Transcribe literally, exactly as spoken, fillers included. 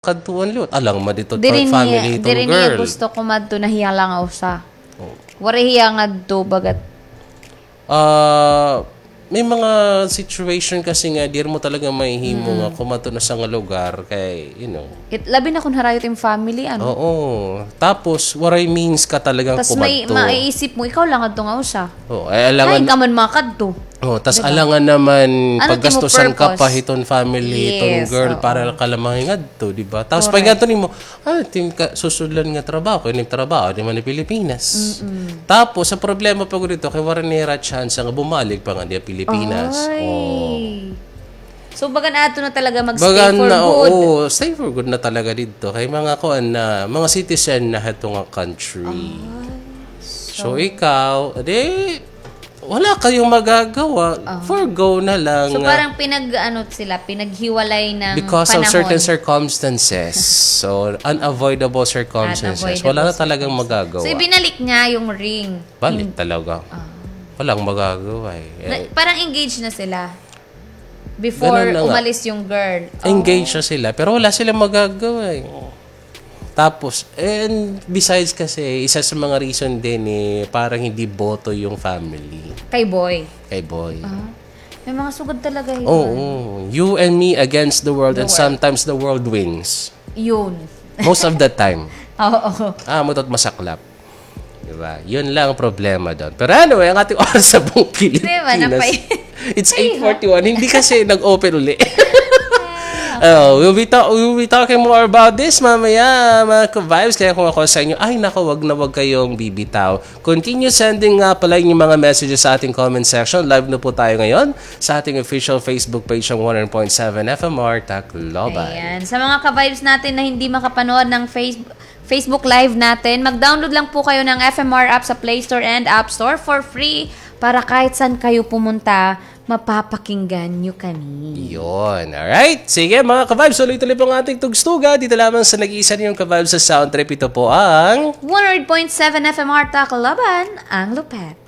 kadtuan liwat. Alang man dito family itong girl. Diri niya gusto kumadto na hiya lang usa. Waray hiya ngadto bagat. Ah, may mga situation kasi nga, diri mo talaga mahihimo nga kumadto na sa nga lugar kay, you know. Labi na kon harayo it im family, ano? Oo. Tapos, waray means ka talagang kumadto. Tas may maiisip mo, ikaw lang adto nga usa. Oo, ay, alangan. Hain ka man makadto. Oo, tas alangan naman paggastusan ka pa hiton family, hiton girl, para ka lang mangingadto, di ba? Tapos pag ngadto nimo, ah, tim ka susudlan nga trabaho, kay nim trabaho, di man ni Pilipinas. Tapos, ang problema pa gud dito, kay waray nira chance nga bumalik pa nga di Pilipinas. Ay. So, bagan ato na talaga mag-stay for good. Oo, stay for good na talaga didto. Kay mga kuan na, mga citizen na hato nga country. So, ikaw, di, wala kayong magagawa. Forgo na lang. So, parang pinag-, ano sila, pinaghiwalay ng panahon. Because of certain circumstances. So, unavoidable circumstances. Wala na talagang magagawa. So, ibinalik niya yung ring. Balik talaga. Walang magagawa eh. Parang engaged na sila. Before umalis yung girl. Engaged na sila, pero wala silang magagawa eh. Tapos, and besides kasi, isa sa mga reason din eh, parang hindi boto yung family. Kay boy. Kay boy. May mga sugad talaga yun. Oo. You and me against the world and sometimes the world wins. Yun. Most of the time. Oo. Ah, mutot masaklap. Diba? Yun lang ang problema doon. Pero anyway, ang ating oras sa buong Pilipinas. It's eight forty-one. Hindi kasi nag-open uli. Oh, we'll be ta-, we'll be talking more about this mamaya, mga ka-vibes. Kaya kung ako sa inyo, ay nako, wag na wag kayong bibitaw. Continue sending nga pala yung mga messages sa ating comment section. Live na po tayo ngayon sa ating official Facebook page ng one oh nine point seven F M R Tacloban. Ayan. Sa mga ka-vibes natin na hindi makapanood ng Facebook, Facebook Live natin, mag-download lang po kayo ng F M R app sa Play Store and App Store for free para kahit saan kayo pumunta, mapapakinggan nyo kami. Yun. Alright. Sige, mga ka-vibes, tuloy-tuloy po ang ating tugstugan. Dito lamang sa nag-iisa ninyong ka-vibes sa Sound Trip. Ito po ang one oh eight point seven F M R Tacloban, ang lupet.